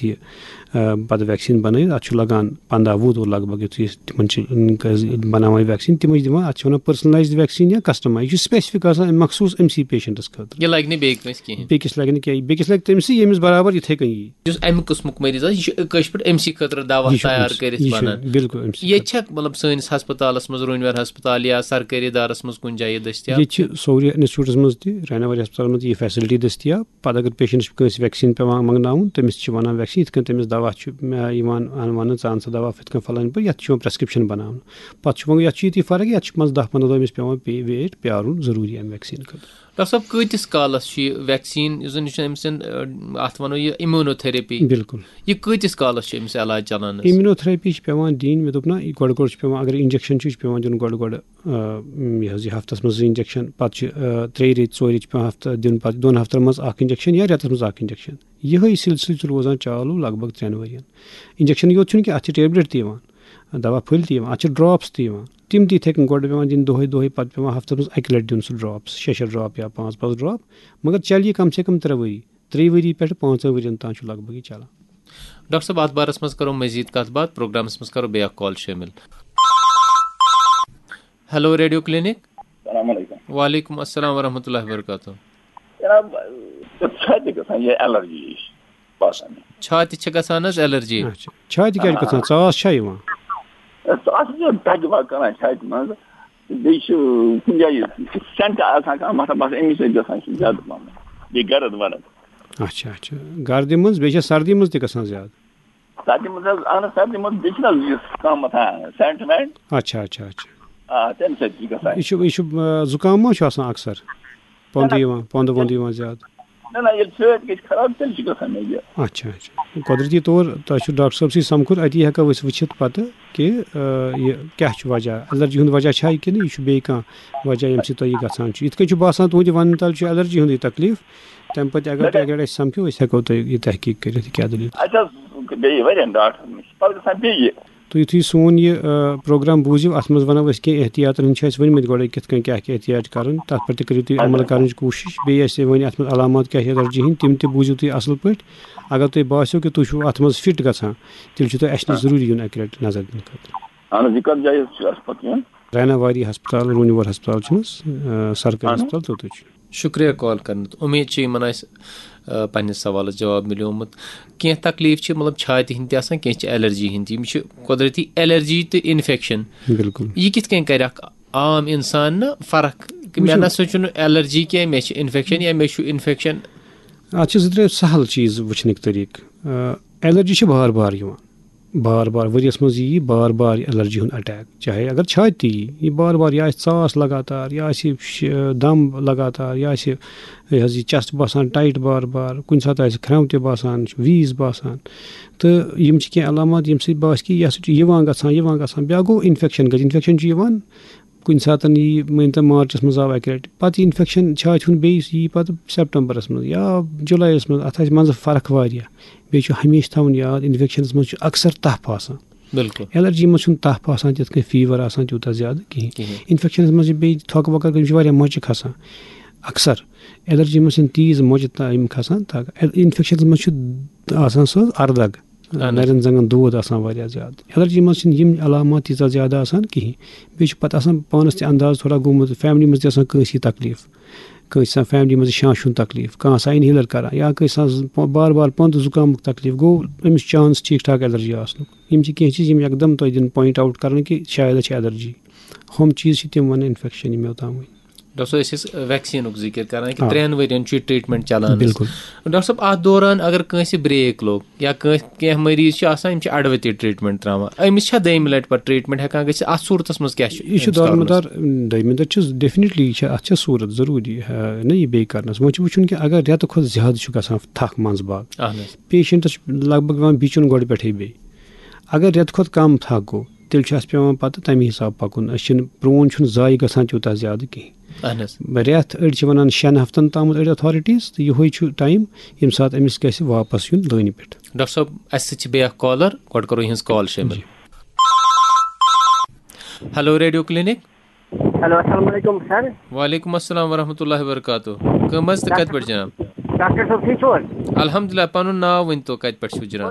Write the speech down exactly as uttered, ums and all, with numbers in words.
یہِ، آ، پَتہٕ ویکسیٖن بَنٲوِتھ، اَتھ چھُ لَگان پنٛداہ وُہ دۄہ لگ بگ، یُتھُے أسۍ تِمَن چھِ، ٲم، بَناوان ویکسیٖن، تِمَے چھِ دِوان، اَتھ چھِ وَنان پٔرسنلایزڈ ویکسیٖن یا کسٹمایز۔ یہِ چھُ سپیسفک آسان مخصوٗص أمۍ سٕے پیشنٹَس خٲطرٕ۔ یہِ لَگہِ نہٕ بیٚیہِ کٲنٛسہِ کِہیٖنۍ۔ بیٚکِس لَگہِ نہٕ کینٛہہ، بیٚکِس لَگہِ تٔمۍ سٕے، ییٚمِس برابر یِتھَے کٔنۍ یی۔ یُس اَمہِ قٕسمُک مریض آسہِ، یہِ چھُ کٲشِر پٲٹھۍ أمۍ سٕے خٲطرٕ دَوا یہِ چھُ تیار أمۍ سٕے، کٔرِتھ یہِ چھُ بَنان۔ بِلکُل أمۍ سٕے ییٚتہِ خٲطرٕ۔ چھا، مطلب، سٲنِس ہسپتالَس منٛز، روٗنۍ وٮ۪ر ہسپتال یا سرکٲرۍ ادارَس منٛز کُنہِ جایہِ یہِ دٔستیاب؟ ییٚتہِ چھِ سورُے انسٹیٹیوٗٹَس منٛز تہِ، ریناواری ہسپتالَس منٛز تہِ یہِ فیسلٹی دٔستیاب۔ پَتہٕ اگر پیشنٹَس چھِ کٲنٛسہِ ویکسیٖن پٮ۪وان منٛگناوُن، تٔمِس چھِ وَنان ویکسیٖن، یِتھ کٔنۍ تٔمِس دَوا چھُ، آ، یِوان اَن-، وَننہٕ، "ژٕ اَن سا دَوا یِتھ کٔنۍ فَلٲنۍ پٲٹھۍ"، یَتھ چھُ یِوان پرٛیسکرٛپشَن بَناونہٕ۔ پَتہٕ چھُ وۄنۍ، یَتھ چھُ ییٚتی فرق، یَتھ چھُ منٛزٕ دَہ پنٛداہ دۄہ أمِس پٮ۪وان پے-، ویٹ پیٛارُن ضروٗری اَمہِ ویکسیٖن خٲطرٕ۔ ڈاکٹر صٲب، کۭتِس کالَس چھُ یہِ ویکسیٖن، یُس زَن، یہِ چھُ أمۍ سٕنٛد، آ، اَتھ وَنو یہِ immunotherapy؟ بِلکُل۔ یہِ کۭتِس کالَس چھُ أمِس علاج چَلان حظ؟ Immunotherapy چھِ پٮ۪وان دِنۍ، مےٚ دوٚپ نہ، یہِ گۄڈٕ گۄڈٕ چھِ پٮ۪وان، اگر injection چھُ، یہِ چھُ پٮ۪وان دیُن گۄڈٕ گۄڈٕ، آ، یہِ حظ یہِ ہفتَس منٛز زٕ injection، پَتہٕ چھِ، آ، ترٛیٚیہِ ریٚتۍ، ژورِ ریٚتۍ چھِ پٮ۪وان ہفتہٕ دیُن، پَتہٕ دۄن ہفتَن منٛز اَکھ injection یا رٮ۪تَس منٛز اَکھ injection۔ یِہوٚے سلسلہٕ چھُ روزان چالوٗ لگ بگ ترٛٮ۪ن ؤرِین۔ Injection یوت چھُنہٕ کینٛہہ، اَتھ چھِ tablet تہِ یِوان، دَوا پھٔلۍ تہِ یِوان، اَتھ چھِ drops تہِ یِوان۔ تِم تہِ یِتھَے کٔنۍ گۄڈٕ پٮ۪وان دِنۍ دۄہَے دۄہَے، پَتہٕ پٮ۪وان ہفتَس منٛز اَکہِ لَٹہِ دیُن سُہ drops، شےٚ شےٚ drop یا پانٛژھ پانٛژھ drop، مگر چَلہِ یہِ کم سے کم ترٛےٚ ؤری۔ ترٛیٚیہِ ؤری پٮ۪ٹھ پانٛژَن ؤرِین تام چھُ لگ بگ یہِ چَلان۔ ڈاکٹر صٲب، اَتھ بارَس منٛز کَرو مٔزیٖد کَتھ باتھ، پروگرامَس منٛز کَرو بیٚیہِ اَکھ call شٲمِل۔ Hello Radio Clinic۔ السلام علیکم۔ وعلیکم السلام ورحمۃ اللہ وبرکاتہ۔ جناب، چھاتہِ گژھان یہِ allergy ہِش باسان۔ چھاتہِ چھِ گژھان حظ allergy؟ اچھا، چھاتہِ کیٛازِ گژھان؟ ژاس چھا یِوان؟ ژاس چھِ دَگہِ وَگہِ کران چھاتہِ منٛز۔ بیٚیہِ چھُ کُنہِ جایہِ scent آسان کانٛہہ، مطلب، بس اَمی سۭتۍ گژھان چھُ زیادٕ پَہم۔ بیٚیہِ گرد ورد۔ اچھا، اچھا۔ گردِ منٛز، بیٚیہِ چھا سردی منٛز تہِ گژھان زیادٕ؟ سردی منٛز حظ، اہن حظ، سردی منٛز بیٚیہِ چھِنہٕ حظ یُس کانٛہہ مَتھان scent وینٹ۔ اچھا، اچھا، اچھا۔ آ، تَمہِ سۭتۍ چھُ گژھان۔ یہِ چھُ، یہِ چھُ، آ، زُکام ما چھُ آسان اکثر؟ پۄندٕ نہ، نہ۔ یِوان، پۄندٕ وۄندٕ یِوان زیادٕ؟ نہ، نہ، ییٚلہِ چھٲتۍ گژھِ خراب، تیٚلہِ چھُ گژھان مےٚ یہِ۔ اچھا، اچھا۔ قۄدرٔتی طور تۄہہِ چھُ ڈاکٹر صٲب سٕے سَمکھُن، اَتی ہٮ۪کو أسۍ وٕچھِتھ پَتہٕ کہِ، آ، یہِ کیٛاہ چھُ وجہ، allergy ہُنٛد وجہ چھا یہِ کِنہٕ یہِ چھُ بیٚیہِ کانٛہہ وجہ ییٚمہِ سۭتۍ تۄہہِ یہِ گژھان چھُ؟ یِتھ کٔنۍ چھُ باسان تُہٕنٛدِ وَننہٕ تَل چھُ allergy ہُنٛدُے تکلیٖف، تَمہِ پَتہٕ اگر تُہۍ، اگر أسۍ سَمکھِو، أسۍ ہٮ۪کو تۄہہِ یہِ تحقیٖق کٔرِتھ، یہِ کیٛاہ دٔلیٖل۔ اَسہِ حظ گٔیے واریاہَن ڈاکٹرَن نِش، پَتہٕ گژھان بیٚیہِ۔ تُہۍ یُتھُے سون یہِ، آ، پروگرام بوٗزِو، اَتھ منٛز وَنو أسۍ کینٛہہ احتیاطَن ہٕنٛدۍ چھِ اَسہِ ؤنۍمٕتۍ گۄڈَے کِتھ کٔنۍ کیٛاہ کیٛاہ احتیاط کَرُن، تَتھ پٮ۪ٹھ تہِ کٔرِو تُہۍ عمل کَرنٕچ کوٗشِش۔ بیٚیہِ اَسہِ ؤنۍ اَتھ منٛز علامات کیٛاہ چھِ allergy ہِنٛدۍ، تِم تہِ بوٗزِو تُہۍ اَصٕل پٲٹھۍ۔ اگر تۄہہِ باسیو کہِ تُہۍ چھُو اَتھ منٛز fit گژھان، تیٚلہِ چھُ تۄہہِ اَسہِ نِش آ۔ ضروٗری یُن اَکہِ لَٹہِ نظر دِنہٕ خٲطرٕ۔ اہن حظ، یہِ کَتھ جایہِ حظ چھُ اَسہِ پَتہٕ یُن؟ ریناواری ہسپتال، روٗنہِ وور ہسپتال چھُنہٕ حظ، آ، سرکٲرۍ اہن حظ۔ ہسپتال، توٚتُے چھُ۔ شُکریہ call کرنہٕ۔ اُمید چھِ یِمن آسہِ، آ، پننِس سوالس جواب مِلیومُت۔ کینٛہہ تکلیٖف چھِ، مطلب، چھاتہِ ہِنٛدۍ تہِ آسان، کینٛہہ چھِ allergy ہِنٛدۍ تہِ۔ یِم چھِ قۄدرٔتی allergy تہٕ infection۔ بِلکُل۔ یہِ کِتھ کٔنۍ کرِ اکھ عام انسان نہٕ فرق کہِ مےٚ وٕچھِو۔ نہ سا چھُنہٕ allergy کینٛہہ، مےٚ چھِ infection یا مےٚ چھُ infection؟ اَتھ چھِ زٕ ترٛےٚ سہل چیٖز وٕچھنٕکۍ طریٖقہٕ۔ آ، allergy چھِ بار بار یِوان، بار بار ؤریَس منٛز یی بار بار یہِ allergy ہُنٛد attack، چاہے اگر چھاتہِ تہِ یی، یہِ بار بار، یا آسہِ ژاس لگاتار، یا آسہِ شِ-، دم لگاتار، یا آسہِ یہِ حظ یہِ chest باسان tight بار بار، کُنہِ ساتہٕ آسہِ کھرٛٮ۪و تہِ باسان، wheeze باسان۔ تہٕ یِم چھِ کینٛہہ علامات، ییٚمہِ سۭتۍ باسہِ کہِ یہِ ہسا چھُ یِوان گژھان، یِوان گژھان۔ بیٛاکھ گوٚو infection گژھِ، infection چھُ یِوان کُنہِ ساتہٕ یی، مٲنۍ تو مارچَس منٛز آو اَکہِ لَٹہِ، پَتہٕ یہِ infection چھاتہِ ہُنٛد بیٚیہِ یی پَتہٕ سیپٹمبرَس منٛز یا جُلایَس منٛز، اَتھ آسہِ منٛزٕ فرق واریاہ۔ بیٚیہِ چھُ ہمیشہِ تھاوُن یاد، infectionس منٛز چھُ اکثر تپھ آسان۔ بِلکُل۔ Allergy منٛز چھُنہٕ تپھ آسان تِتھ کٔنۍ، fever آسان تیوٗتاہ زیادٕ کِہیٖنۍ۔ کِہیٖنۍ۔ Infectionس منٛز چھِ بیٚیہِ تھۄکہٕ وۄکہٕ، یِم چھِ واریاہ مۄچہِ کھسان۔ اکثر allergy منٛز چھِنہٕ تیٖژ مۄچہِ تا-، یِم کھسان، تا-، infectionس منٛز چھُ آسان سُہ اَردَگ۔ اہن حظ۔ نَرٮ۪ن زنٛگن دود آسان واریاہ زیادٕ۔ Allergy منٛز چھِنہٕ یِم علامات تیٖژاہ زیادٕ آسان کِہیٖنۍ۔ بیٚیہِ چھُ پَتہٕ آسان پانَس تہِ انداز تھوڑا گوٚمُت، family منٛز تہِ آسان کٲنٛسہِ تکلیٖف، کٲنٛسہِ آسان family منٛز شانٛشہِ ہُنٛد تکلیٖف، کانٛہہ آسان inhaler کران، یا کٲنٛسہِ آسان پ-، بار بار پَندٕ زُکامُک تکلیٖف، گوٚو أمِس chance ٹھیٖک ٹھاک allergy آسنُک۔ یِم چھِ کینٛہہ چیٖز یِم یکدم تۄہہِ دِن point out کرنہٕ کہِ شاید چھِ allergy۔ ہُم چیٖز چھِ تِم وَنان infection یِم مےٚ اوٚتام ؤنۍ۔ ڈاکٹر صٲب، أسۍ ٲسۍ ویکسیٖنُک ذِکِر کران کہِ آ۔ ترٛٮ۪ن ؤرین چھُ یہِ treatment چلان۔ بِلکُل۔ ڈاکٹر صٲب، اَتھ دوران اگر کٲنٛسہِ break لوٚگ یا کٲنٛسہِ، کینٛہہ مریض چھِ آسان، یِم چھِ اَڑٕ وَتے treatment ترٛاوان، أمِس چھا دوٚیمہِ لَٹہِ پَتہٕ treatment ہٮ۪کان گٔژھِتھ؟ اَتھ صوٗرتَس منٛز کیٛاہ چھُ یہِ چھُ أمِس دارمدار، کَرُن؟ دوٚیمہِ دۄہ چھُ definitely یہِ چھِ، اَتھ چھِ صوٗرت ضروٗری، ہہ، نہ یہِ بیٚیہِ کرنَس۔ وۄنۍ چھُ وٕچھُن کہِ اگر رٮ۪تہٕ کھۄتہٕ زیادٕ چھُ گژھان تھکھ منٛزٕ باگ، اہن حظ۔ Patientس چھُ لگ بگ یِوان بِچُن گۄڈٕ پٮ۪ٹھَے بیٚیہِ۔ اگر رٮ۪تہٕ کھۄتہٕ کم تھکھ گوٚو، تیٚلہِ چھُ اَسہِ پٮ۪وان پَتہٕ تَمی حساب پَکُن۔ أسۍ چھِنہٕ، پرٛون چھُنہٕ زایہِ گژھان تیوٗتاہ زیادٕ کِہیٖنۍ۔ اہن حظ۔ رٮ۪تھ، أڑۍ چھِ وَنان شٮ۪ن ہفتن تامَتھ أڑۍ authorities، تہٕ یِہوٚے چھُ time ییٚمہِ ساتہٕ أمِس گژھِ واپس یُن لٲنہِ پٮ۪ٹھ۔ ڈاکٹر صٲب، اَسہِ سۭتۍ چھِ بیٚیہِ اکھ caller، گۄڈٕ کرو یِہٕنٛز call شٲمِل۔ جی۔ Hello Radio Clinic۔ ہیلو، السلام علیکم سر۔ وعلیکم السلام ورحمۃ اللہ وبرکاتہ۔ کٕم حظ تہٕ کتہِ پٮ۪ٹھ جناب؟ ڈاکٹر صٲب ٹھیٖک چھِو حظ؟ الحمدللہ، پنُن ناو ؤنۍ تو، کتہِ پٮ۪ٹھ چھِو جناب؟